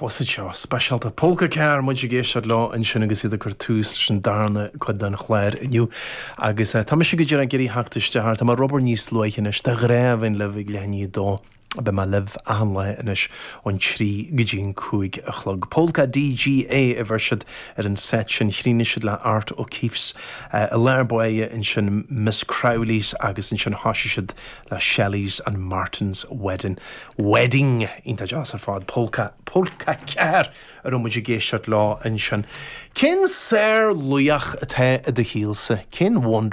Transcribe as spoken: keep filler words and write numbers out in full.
Was it seo speisialta Polka Car muid ag éisteacht leo ansin agus iad ag cur tús leis an darna cuid den chlár inniu agus uh, tá mise go dtí ag iarraidh theacht isteach tá mar rubber níos luaithe anois de ghnáth libh ag leath i ndiaidh a dó Beidh mé libh achan lá anois ón trí go dtí an cúig a chlog. Polka DGA a bheir siad ar an set sin chríochnaigh siad le Art O'Keefe's uh, i lár báire ansin Miss Crowley's agus ansin thosaigh siad le Shelley's and Martin's Wedding. Wedding iontach deas ar fad Polka Polka Car a raibh muid ag éisteacht leo ansin. Cén sárlaoch atá i do shaolsa, cén wonder